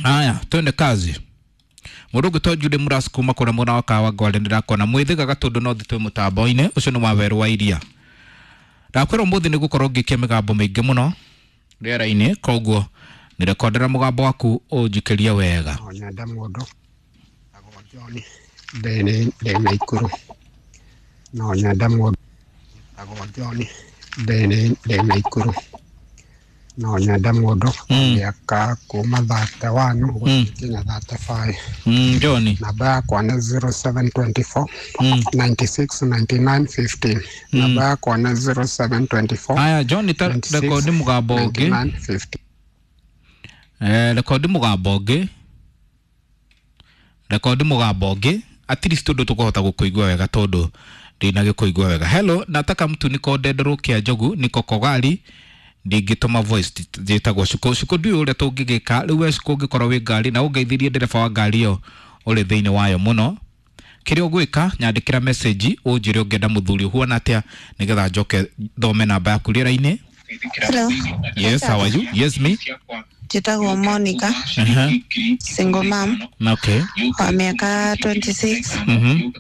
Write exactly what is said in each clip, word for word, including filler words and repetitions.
Haya, twende kazi. Mũndũ ũngĩ Jude Muras kuma kũrĩa mwena wa Kawangware, ndĩrakona mwĩthĩgaga tondũ no thĩ twĩ mũtambo-inĩ ũcio nĩ wa werũ wa iria. Ndakwĩra ũmũthĩ nĩ gũkorwo ngĩkia mĩgambo mĩingĩ mũno rĩera-inĩ, koguo nĩrekondera mũgambo waku ũnjikĩrie wega. No nyende mũndũ etagwo John, ndĩ ndĩ Naikuru. No nyende mũndũ etagwo John, ndĩ ndĩ Naikuru. No nyende mũndũ Mm. mĩaka kuma thirty one gũthiĩ nginya thirty five. Mm, John. Namba yakwa nĩ zero seven twenty four Mm. ninety six ninety nine fifteen. Namba yakwa nĩ zero seven twenty four Aya, John, ta ninety six rekondi mũgambo ninety ũngĩ. nine fifteen. Eh, rekondi mũgambo ũngĩ, rekondi mũgambo ũngĩ, at least tondũ tũkũhota gũkũigua wega, tondũ ndinagĩkũigua wega. Hello, nataka mtu, niko Ndenderũkia Njogu, niko Kogali, ndingĩtũma voice. Njĩtagwo Cuko. Cuko, ndiũĩ ũrĩa tũngĩgĩka rĩu. We Cuko, ũngĩkorwo wĩ ngari na ũngeithirie ndereba wa ngari ĩyo ũrĩ thĩinĩ wayo mũno, kĩrĩa ũgwĩka, nyandĩkĩra message ũnjĩre ũngĩenda mũthuri ũhuana atĩa, nĩgetha njoke thome namba yaku rĩera-inĩ. Hello. Yes, how are you? Yes, me. Njĩtagwo Monica, uh-huh. single mom okay wa mĩaka twenty-six, mhm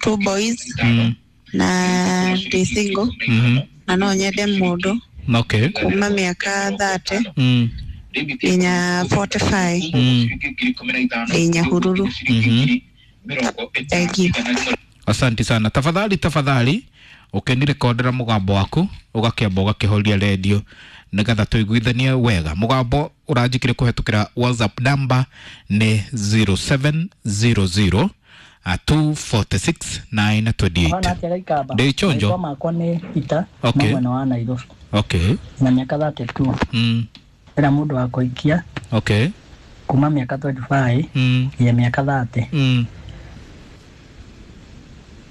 two boys, mm na ndĩ single mhm na no nyende mũndũ okay kuma mĩaka thirty mm nginya forty-five. mm Ndĩ Nyahururu. mhm Thank you. Asante sana. Tafadhali, tafadhali, ũkĩnirekondera mũgambo waku ũgakĩamba ũgakĩhoria redio nĩgetha tũiguithanie wega. Mũgambo ũranjikire kũhetũkĩra WhatsApp number nĩ zero seven zero zero two four six nine two eight. Hana atĩa Gaikamba? Ndĩ chonjo. Marĩtwa makwa nĩ Peter, Okay. kuma mwena wa Nairobi, okay na mĩaka thirty-two. mm. Ndĩrenda mũndũ wa kũhikia okay kuma mĩaka twenty-five mm. nginya mĩaka thirty. Mm.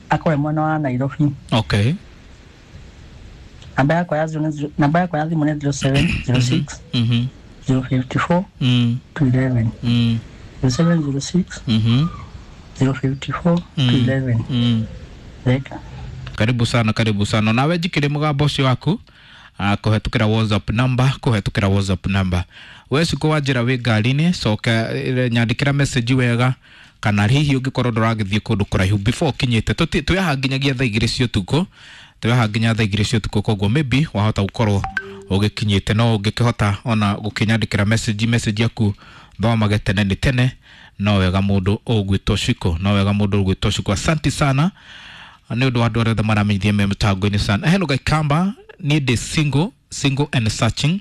Akorwe mwena wa Nairobi. okay Namba yakwa ya thimũ nĩ- namba yakwa ya thimũ nĩ zero seven zero six mhm zero five four mm. two one one. mm. zero seven zero six mhm zero five four Mm. two one one. mm. Theka. Karibu sana, karibu sana. Nawe njikire mũgambo ũcio waku uh, kũhetũkĩra WhatsApp number, kũhetũkĩra WhatsApp number. We Cukũ wa njĩra wĩ ngari-inĩ, coka eh, nyandĩkĩra message wega, kana hihi ũngĩkorwo ndũragĩthiĩ kũndũ kũraihu before ũkinyĩte. Tũti- twĩ haha nginyagia thaa igĩrĩ cia ũtukũ, twĩ haha nginya thaa igĩrĩ cia ũtukũ, koguo maybe wahota gũkorwo ũgĩkinyĩte, no ũngĩkĩhota ona gũkĩnyandĩkĩra message, message yaku thomage tene nĩ tene. No wega mũndũ ũgwĩtwo Ciko, no wega mũndũ ũgwĩtwo Ciko. Asante sana nĩ ũndũ wa andũ arĩa othe maramenyithia me mũtango-inĩ sana. Hello Gaikamba, niĩ ndĩ single, single and searching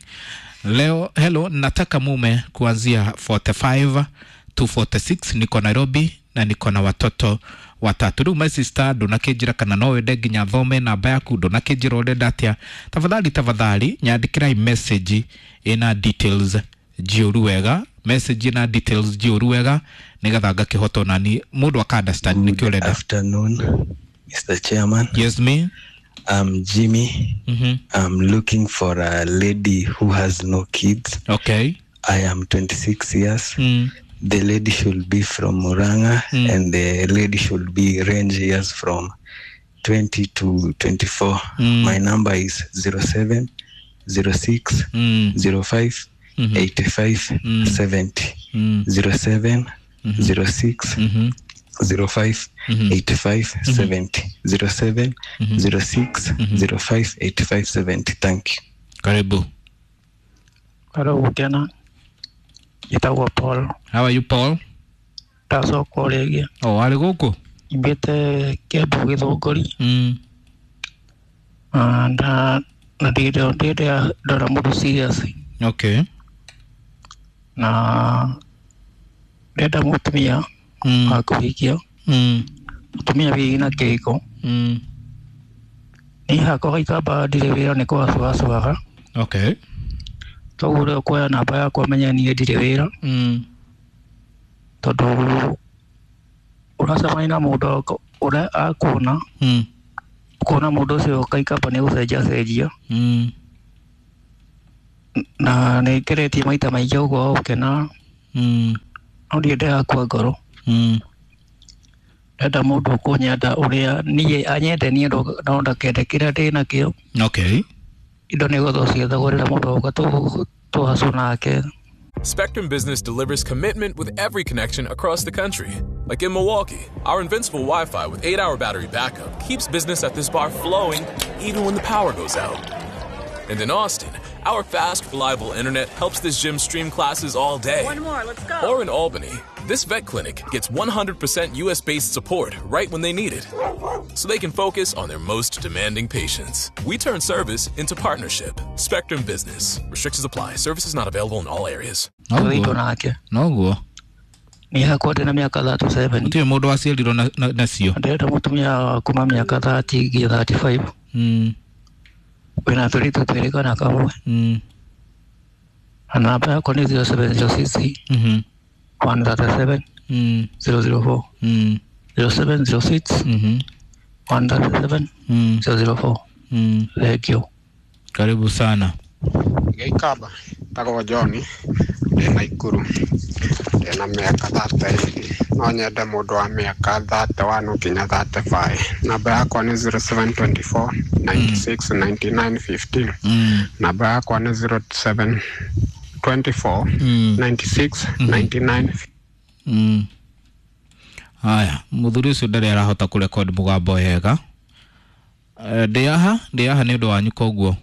leo. Hello, nataka mume kuanzia forty-five to forty-six, niko Nairobi na niko na watoto watatu. Rĩu my sister, ndũnakĩnjĩra kana no wende nginya thome namba yaku, ndũnakĩnjĩra ũrenda atĩa. Tafadhali, tafadhali, nyandĩkĩrai message ĩna details njiyũru wega, message ĩna details njiyũru wega, nĩgetha ngakĩhota onani mũndũ aka understand nĩkĩ Good ũrenda. afternoon, Mister Chairman. Yes, me. I'm Jimmy. mm-hmm. I'm looking for a lady who has no kids. okay I am twenty-six years. mm. The lady should be from Muranga Mm. and the lady should be range years from twenty to twenty-four. Mm. My number is zero seven zero six Mm. zero five Mhm. eighty-five Mm. seventy. Mm. zero seven zero six Mhm. zero five Mhm. eighty-five seventy. zero seven zero six zero five eighty-five seventy. Thank you. Karibu. Hello, Gukena. Njĩtagwo Paul. How are you, Paul? Ndacoka o rĩngĩ. Oh, arĩ gũkũ. Nyumbĩte Kĩambu Gĩthũngũri. mm. Ah, na na ndirĩ ndĩrĩ ndora mũndũ serious okay na ndĩrenda mũtumia mm. wa kũhikia, Mm. mũtumia wĩna kĩhiko. Mm. Niĩ hakwa Gaikamba ndirĩ wĩra, nĩ kũgacuacuaga. okay Toguo ũrĩa ũkuoya namba yakwa menye niĩ ndirĩ wĩra, mm. tondũ ũracemania na mũndũ ũrĩa akuona, Mm. ũkona mũndũ ũcio Kaikamba nĩ gũcenjia cenjia. Mm. Na nĩ ngeretie maita maingĩ ũguo gũkena, Mm. no ndiĩ ndĩrakua ngoro. Mm. Ndĩrenda mũndũ ũkũnyenda ũrĩa niĩ anyende niĩ, no no ndakende kĩrĩa ndĩ nakĩo. Okay Indo nĩ gũthwo ciethagwo rĩrĩa mũndũ oka tũhacũ nake. Spectrum Business delivers commitment with every connection across the country. Like in Milwaukee, our invincible Wi-Fi with eight-hour battery backup keeps business at this bar flowing even when the power goes out. And in Austin, our fast, reliable internet helps this gym stream classes all day. One more, let's go. Or in Albany, this vet clinic gets one hundred percent U S-based support right when they need it, so they can focus on their most demanding patients. We turn service into partnership. Spectrum Business. Restrictions apply. Services not available in all areas. Twĩtwo nake. Noguo. Niĩ hakwa ndĩna mĩaka thirty seven. Gũtirĩ mũndũ waciarirwo na- na- nacio. Ndĩrenda mũtumia kuma mĩaka thirty nginya thirty five. Mm. Wĩna tũirĩtu twĩrĩ kana kamwe. Mm. Na namba yakwa nĩ zero seven zero six Mhm. one thirty seven Mm. zero zero four. Mm. zero seven zero six Mhm. one thirty seven Mm. zero zero four. Mm. Thank you. Karibu sana. Gĩikamba tagwo John ndĩ Naikuru ndĩna mĩaka thirty no nyende mũndũ wa mĩaka thirty one nginya thirty five. Namba yakwa nĩ zero seven twenty four ninety six ninety nine fifteen. Mm. Namba yakwa nĩ zero seven twenty four Mm. ninety six ninety nine Mm. Haya, mũthuri ũcio ndarĩ arahota kũrekodi mũgambo wega. Eh, Ndĩ haha, ndĩ haha nĩ ũndũ wanyu koguo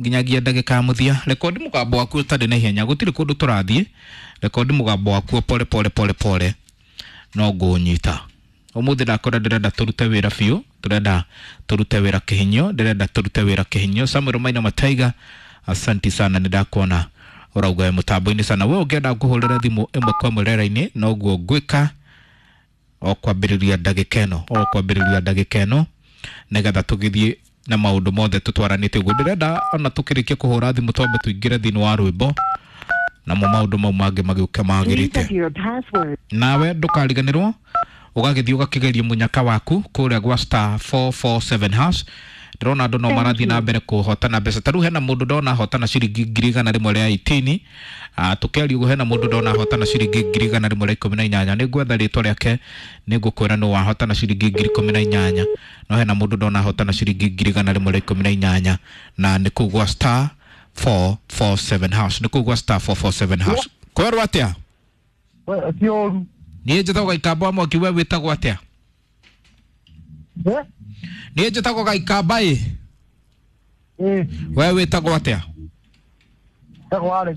nginyagia ndagĩka ya mũthia. Rekodi mũgambo waku ũtarĩ na ihenya, gũtirĩ kũndũ tũrathiĩ. Rekodi mũgambo waku pole pole pole pole, no ngũũnyita. Ũmũthĩ ndakora ndĩrenda tũrute wĩra biũ, tũrenda tũrute wĩra kĩhinyio, ndĩrenda tũrute wĩra kĩhinyio. Samuel Maina Mataiga, asanti sana, nĩ ndakuona ũrauga wĩ mũtambo-inĩ sana. We ũngĩenda ngũhũrĩre thimũ ĩmwe kwa ĩmwe rĩera-inĩ, noguo ngwĩka o kwambĩrĩria ndagĩka ĩno, o kwambĩrĩria ndagĩka ĩno, nĩgetha tũgĩthiĩ na maũndũ mothe tũtwaranĩte ũguo. Ndĩrenda ona tũkĩrĩkia kũhũra thimũ twambe tũingĩre thĩinĩ wa rwĩmbo, namo maũndũ mau mangĩ magĩũke magĩrĩte. Nawe ndũkariganĩrwo ũgagĩthiĩ ũgakĩgeria mũnyaka waku kũrĩa gwa star four four seven hash. Ndĩrona andũ no marathiĩ na mbere kũhotana mbeca. Ta rĩu hena mũndũ ndona ahotana ciringi ngiri igana rĩmwe rĩa eighteen. Ah, tũkĩaria ũguo hena mũndũ ndona ahotana ciringi ngiri igana rĩmwe rĩa ikũmi na inyanya. Nĩ ngwetha rĩtwa rĩake, nĩ ngũkwĩra nũ wahotana ciringi ngiri ikũmi na inyanya. No hena mũndũ ndona ahotana ciringi ngiri igana rĩmwe rĩa ikũmi na inyanya, na nĩ kũu gwa star four four seven hash. Nĩ kũu gwa star four four seven hash. Kwerwo atĩa? Ti ũru. Niĩ njĩtagwo Gaikamba wa Mwaki, we wĩtagwo atĩa? Niĩ njĩtagwo Gaikamba ĩ. We wĩtagwo atĩa? Njĩtagwo Alex.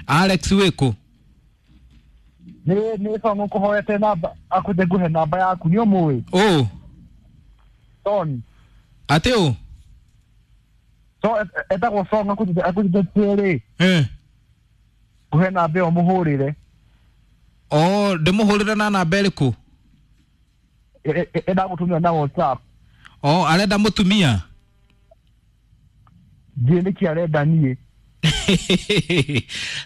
Alex wĩkũ? Nĩ nĩ Song ũkũhoete namba, akwĩte ngũhe namba yaku, nĩ ũmũĩ? Ũ? Son. Atĩ ũ? So, etagwo Song, akwĩte akwĩte twĩrĩ. Eh. Ngũhe namba ĩyo mũhũrĩre. Oh, ndĩmũhũrĩre na namba ĩrĩkũ? Ĩndagũtũmĩra na WhatsApp. Oh, arenda mũtumia? Ndiũĩ nĩkĩ arenda niĩ.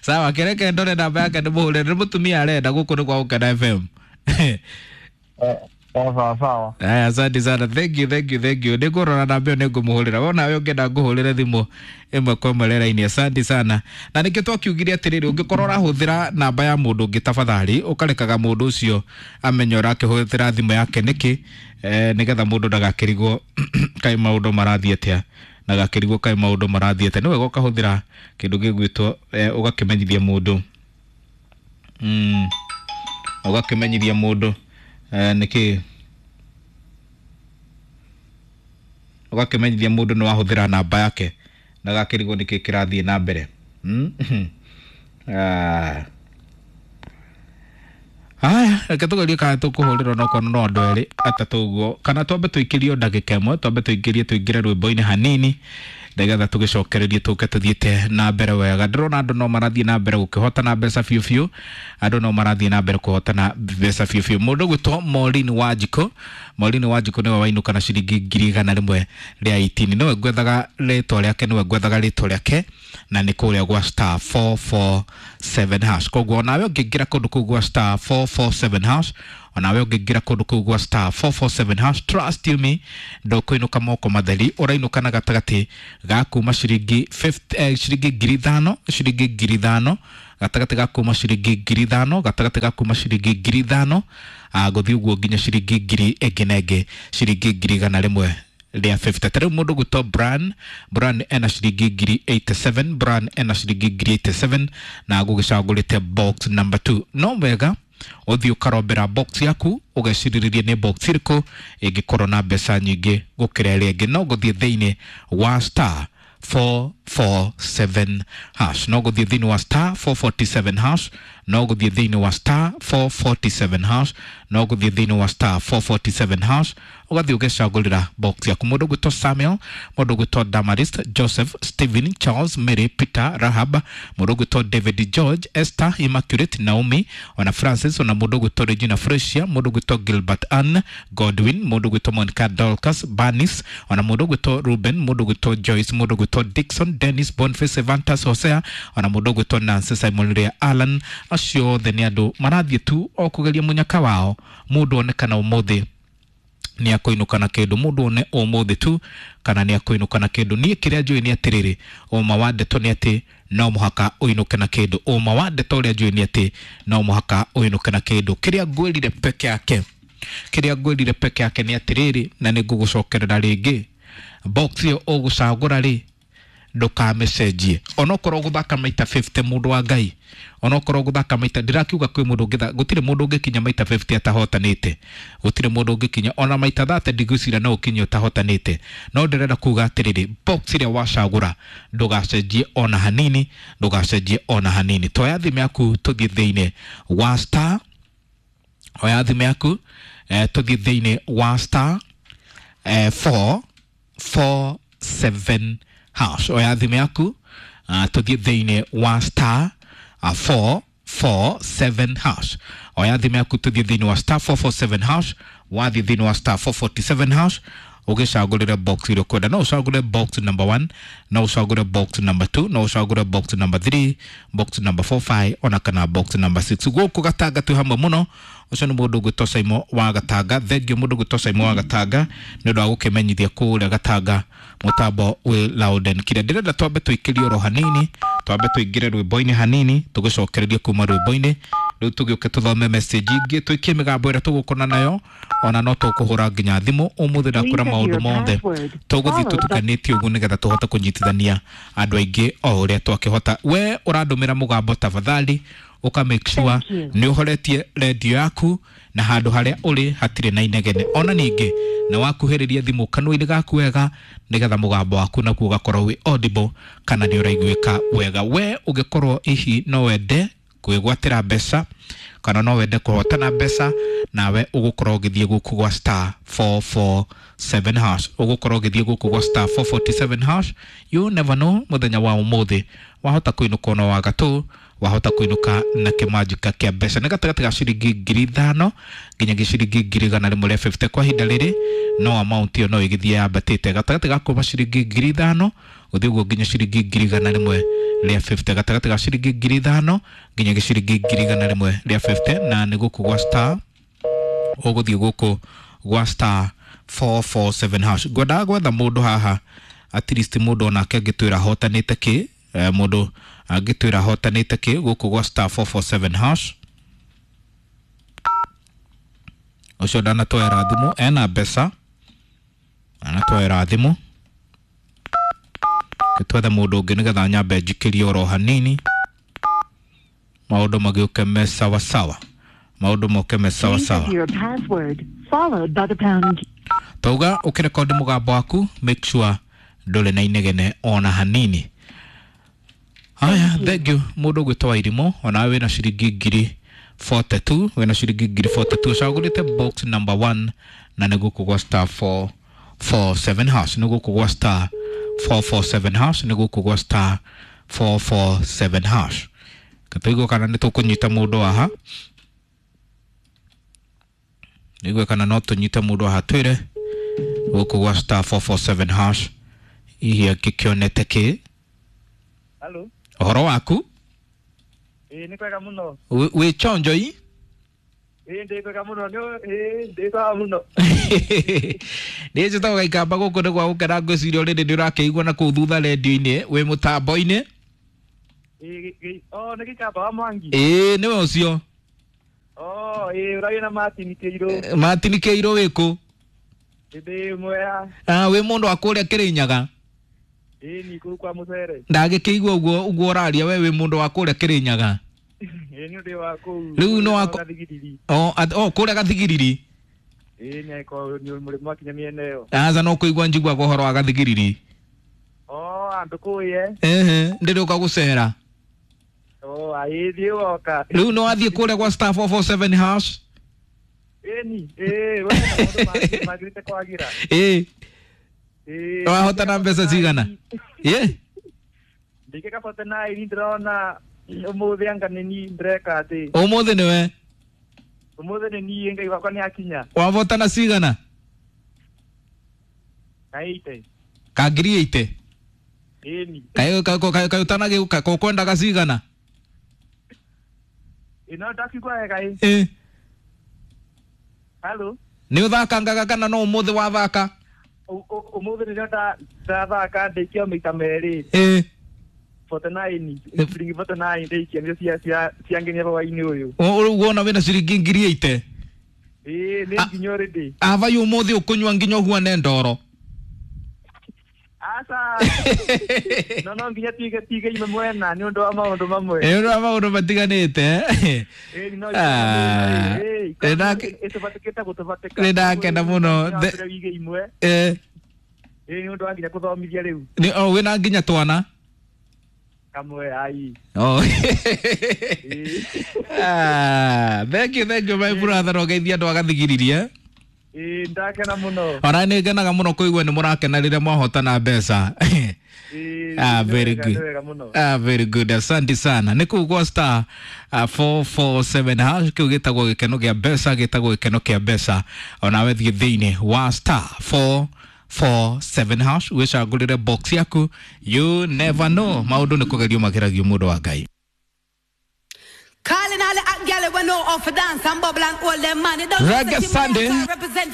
Sawa, kereke ndore namba yake ndĩmũhũrĩre. Nĩ mũtumia arenda, gũkũ nĩ kwa Gũkena F M. Sawa sawa. Aya, asante sana. Thank you, thank you, thank you. Nĩngũrora namba ĩyo nĩngũmũhũrĩra. Wona we ũngĩenda ngũhũrĩre thimũ ĩmwe kwa ĩmwe rĩera-inĩ. Asante sana. Na nĩkĩo twakiugire atĩrĩrĩ, ũngĩkorwo ũrahũthĩra namba ya mũndũ ũngĩ tafadhali, ũkarekaga mũndũ ũcio amenye ũrakĩhũthĩra thimũ yake nĩkĩ, eh, nĩgetha mũndũ ndagakĩrigwo kaĩ maũndũ marathiĩ atĩa. Ndagakĩrigwo kaĩ maũndũ marathiĩ atĩa. Nĩ wega ũkahũthĩra kĩndũ gĩgwĩtwo, eh, ũgakĩmenyithia mũndũ. Mm. Ũgakĩmenyithia mũndũ, eh, nĩkĩ ũgakĩmenyithia mũndũ nĩ wahũthĩra namba yake ndagakĩrigwo nĩkĩ kĩrathiĩ na mbere. Mm? Ah. Haya, reke tũgerie kana tũkũhũrĩrwo no korwo no andũ erĩ atatũ ũguo, kana twambe tũikĩrio ndagĩka ĩmwe, twambe tũingĩrie tũingĩre rwĩmbo-inĩ hanini nĩgetha tũgĩcokererie tũke tũthiĩte na mbere wega. Ndĩrona andũ no marathiĩ na mbere gũkĩhotana mbeca biũ biũ, andũ no marathiĩ na mbere kũhotana mbeca biũ biũ. Mũndũ ũgwĩtwo Maureen Wanjikũ, Maureen Wanjikũ nĩwe wainũka na ciringi ngiri igana rĩmwe rĩa eighteen. Nĩwe ngwethaga rĩtwa rĩake, nĩwe ngwethaga rĩtwa rĩake, na nĩ kũrĩa gwa star four four seven hash. Koguo onawe ũngĩingĩra kũndũ kũu gwa star four four seven hash, onawe ũngĩingĩra kũndũ kũu gwa star four four seven hash, trust you me, ndũkũinũka moko matheri, ũrainũka na gatagatĩ ga kuma ciringi fifty, eh, ciringi ngiri ithano, ciringi ngiri ithano, gatagatĩ ga kuma ciringi ngiri ithano, gatagatĩ ga kuma ciringi ngiri ithano, ah, gũthiĩ ũguo nginya ciringi ngiri ĩngĩ na ĩngĩ, ciringi ngiri igana rĩmwe rĩa fifty. Ta rĩu mũndũ gwĩtwo Brian, Brian ena ciringi ngiri eighty-seven, Brian ena ciringi ngiri eighty-seven na agũgĩcagũrĩte box number two. No wega ũthiĩ ũkarombera box yaku ũgecirĩrĩrie nĩ box ĩrĩkũ ĩngĩkorwo na mbeca nyingĩ gũkĩra ĩrĩa ĩngĩ. No gũthiĩ thĩinĩ wa star four four seven hash, no gũthiĩ thĩinĩ wa star four forty-seven hash, no gũthiĩ thĩinĩ wa star four forty-seven hash, no gũthiĩ thĩinĩ wa star four forty-seven hash, ũgathiĩ ũgecagũrĩra box yaku. Mũndũ ũgwĩtwo Samuel, mũndũ ũgwĩtwo Damaris, Joseph, Stephen, Charles, Mary, Peter, Rahab, mũndũ ũgwĩtwo David, George, Esther, Immaculate, Naomi, ona Francis, ona mũndũ ũgwĩtwo Regina Fresia, mũndũ ũgwĩtwo Gilbert Ann, Godwin, mũndũ ũgwĩtwo Monica Dorcas, Bernice, ona mũndũ ũgwĩtwo Ruben, mũndũ ũgwĩtwo Joyce, mũndũ ũgwĩtwo Dixon, Dennis, Boniface, Evantas, Hosea, ona mũndũ ũgwĩtwo Nancy, Simon Rea, Alan. Acio othe nĩ andũ marathiĩ tu o kũgeria mũnyaka wao, mũndũ one kana ũmũthĩ nĩ akũinũka na kĩndũ, mũndũ one ũmũthĩ tu kana nĩ akũinũka na kĩndũ. Niĩ kĩrĩa njũĩ nĩ atĩrĩrĩ, ũma wa ndeto nĩ atĩ no mũhaka ũinũke na kĩndũ. Ũma wa ndeto ũrĩa njũĩ nĩ atĩ no mũhaka ũinũke na kĩndũ. Kĩrĩa ngwĩrire peke yake, kĩrĩa ngwĩrire peke yake nĩ atĩrĩrĩ, na nĩ ngũgũcokerera rĩngĩ, box ĩyo ũgũcagũra rĩ ndũkamĩcenjie onokorwo gũthaka maita fifty, mũndũ wa Ngai, onokorwo gũthaka maita, ndĩrakiuga kwĩ mũndũ ũngĩtha, gũtirĩ mũndũ ũngĩkinya maita fifty atahotanĩte, gũtirĩ mũndũ ũngĩkinya ona maita thirty, ndigwĩciria no ũkinye ũtahotanĩte. No ndĩrenda kuga atĩrĩrĩ, box ĩrĩa wacagũra ndũgacenjie ona hanini, ndũgacenjie ona hanini. Toya thimũ yaku tũthiĩ thĩinĩ wa star, oya thimũ yaku eh, tũthiĩ thĩinĩ wa star eh, four four seven hash. Oya thimũ yaku uh, tũthiĩ thĩinĩ wa star uh, four four seven hash. Oya thimũ yaku tũthiĩ thĩinĩ wa star four four seven hash. Wathiĩ thĩinĩ wa star four forty-seven hash ũgĩcagũrĩre box ĩrĩa ũkwenda. No ũcagũre box number one, no ũcagũre box number two, no ũcagũre box number three, box number four five, ona kana box number six. Gũkũ Gatanga twĩ hamwe mũno. Ũcio nĩ mũndũ ũgwĩtwo Saimo wa Gatanga. Thengiũ mũndũ ũgwĩtwo Saimo wa Gatanga nĩ ũndũ wa gũkĩmenyithia kũrĩa Gatanga mũtambo wĩ loud and clear. Ndĩrenda twambe tũikĩrie oro hanini, twambe tũingĩre rwĩmbo-inĩ hanini, tũgĩcokererie kuma rwĩmbo-inĩ. Rĩu tũgĩũke tũthome message ingĩ, tũikie mĩgambo ĩrĩa tũgũkona nayo, ona no tũkũhũra nginya thimũ ũmũthĩ. Ndakwĩra maũndũ mothe tũgũthiĩ tũtukanĩtie ũguo nĩgetha tũhote kũnyitithania andũ aingĩ o ũrĩa twakĩhota. We ũrandũmĩra mũgambo, tafadhali ũka make sure nĩ ũhoretie redio yaku na handũ harĩa ũrĩ hatirĩ na inegene. Ona ningĩ nĩ wakuhĩrĩria thimũ kanua-inĩ gaku wega nĩgetha mũgambo waku naguo ũgakorwo wĩ audible kana nĩ ũraiguĩka wega. We ũngĩkorwo hihi no wende kwĩgwatĩra mbeca kana no wende kũhotana mbeca, nawe ũgũkorwo ũgĩthiĩ gũkũ gwa star four four seven hash, ũgũkorwo ũgĩthiĩ gũkũ gwa star four forty-seven hash. You never know, mũthenya wa ũmũthĩ wahota kũinũka ona wa gatũ, wahota kũinũka na kĩmanjĩka kĩa mbeca nĩ gatagatĩ ga ciringi ngiri ithano nginya ciringi ngiri igana rĩmwe rĩa fifty. Kwa ihinda rĩrĩ no amount ĩyo no ĩgĩthiĩ yambatĩte, gatagatĩ ga kuma ciringi ngiri ithano gũthiĩ ũguo nginya ciringi ngiri igana rĩmwe rĩa fifty, gatagatĩ ga ciringi ngiri ithano nginya ciringi ngiri igana rĩmwe rĩa fifty. Na nĩ gũkũ gwa star, ũgũthiĩ gũkũ gwa star four four seven hash. Ngwendaga gwetha mũndũ haha at least mũndũ onake angĩtwĩra ahotanĩte kĩ, eh, mũndũ angĩtwĩra ahotanĩte kĩ gũkũ gwa star four four seven hash. Ũcio ndanatwera thimũ, ena mbeca, anatwera thimũ. Twethe mũndũ ũngĩ nĩgetha nyambe njikĩrie oro hanini, maũndũ magĩũke me sawasawa, maũndũ moke me sawasawa. Tauga ũkĩrekondi mũgambo waku make sure ndũrĩ na inegene ona hanini. Haya, thank you mũndũ ũgwĩtwo Wairimũ, onawe wĩna ciringi ngiri forty-two, wĩna ciringi ngiri forty-two, ũcagũrĩte box number one na nĩ gũkũ gwa star four four seven hash, nĩ gũkũ gwa star four four seven hash, nĩ gũkũ gwa star four four seven hash. Tũigue kana nĩ tũkũnyita mũndũ haha, nĩgue kana no tũnyite mũndũ haha twĩre gũkũ gwa star four four seven hash hihi angĩkĩonete kĩ. Hello. Ũhoro waku? Ĩĩ nĩ kwega mũno. Wĩ chonjo i? Ĩĩ ndĩ kwega mũno, ĩĩ ndĩ sawa mũno. Niĩ njĩtagwo Gaikamba gũkũ nĩ gwa gũkena, ngwĩciria already nĩ ũrakĩigua na kũu thutha redio-inĩ wĩ mũtambo-inĩ. Ĩĩ oh nĩ Gĩikamba wa Mwangi. Ĩĩ nĩwe ũcio. Oh ĩĩ ũraria na Martin Kĩirũ. Martin Kĩirũ wĩ kũ? Ndĩ mwega. Ah, wĩ mũndũ wa kũrĩa Kĩrĩnyaga? Ĩĩ ni kũu kwa mũcere. Ndagĩkĩigua ũguo ũguo ũraria we wĩ mũndũ wa kũrĩa Kĩrĩnyaga. Ĩĩ nĩ ũndũ wa kũu. Rĩu no wa Gathigiriri. O o kũrĩa Gathigiriri. Ĩĩ nĩ ko nĩ mũrĩmo wakinya mĩena ĩyo. Aca no kũigua njiguaga ũhoro wa Gathigiriri. O andũ kũu ye. Ehe, ndĩrĩũka gũcera. O aĩ thiĩ woka. Rĩu nĩ wathiĩ kũrĩa gwa star four four seven hash? Ĩni, ĩĩ we maũndũ magĩrĩte kwagĩra. Ĩĩ. Ĩĩ. Wahotana mbeca cigana? Ĩĩ. Ndĩkĩka forty nine ndĩrona ũmũthĩ anga nĩ niĩ ndĩreka atĩ. Ũmũthĩ nĩwe? Ũmũthĩ nĩ niĩ Ngai wakwa nĩ akinya. Wavotana cigana? Ka eighty. Ka ngiri eighty? Ĩni. Kaĩ kaĩ ũtanagĩũka ũkwendaga cigana? Ĩ no ndakigua wega ĩ. Ĩĩ. Hello. Nĩ ũthakangaga kana no ũmũthĩ wathaka? Ũmũthĩ nĩrĩo ndathaka ndĩkia maita merĩ. Ĩĩ. forty nine, ciringi forty nine ndĩikia nĩcio cia cia ciangenia hwainĩ ũyũ. Rĩu wona wĩna ciringi ngiri eighty? Ĩĩ nĩ nginya already. Ava ũmũthĩ ũkũnyua nginya ũhuane ndoro. Aca. No no nginya tige tige ime mwena nĩ ũndũ wa maũndũ mamwe. Nĩ ũndũ wa maũndũ matiganĩte. Ĩĩ no. Ĩĩ ĩtũbatĩkĩte gũtũbatĩka. Nĩ ndakena mũno. Wige imwe. Ĩĩ. Ĩĩ nĩ ũndũ wa nginya kũthomithia rĩu. Nĩ o wĩna nginya twana? Kamwe ai. Oh. Ah, thank you, thank you my brother. Ogeithia andũ agathigiririe. Ĩĩ ndakena mũno. Ona nĩ ngenaga mũno kũigua nĩ mũrakena rĩrĩa mwahotana mbeca. Ah, very good. Ah, very good. Asante sana. Nĩ kũu gwa star uh, four four seven hash kĩu gĩtagwo gĩkeno kĩa mbeca, gĩtagwo gĩkeno kĩa mbeca. Onawe thiĩ thĩinĩ wa star four four seven hash wĩcagũrĩre box yaku. You never know, maũndũ nĩ kũgerio mageragio mũndũ wa Ngai. Calling all the hot gyal we know how to dance and bubble and hold them money. Reggae Sunday. Represent for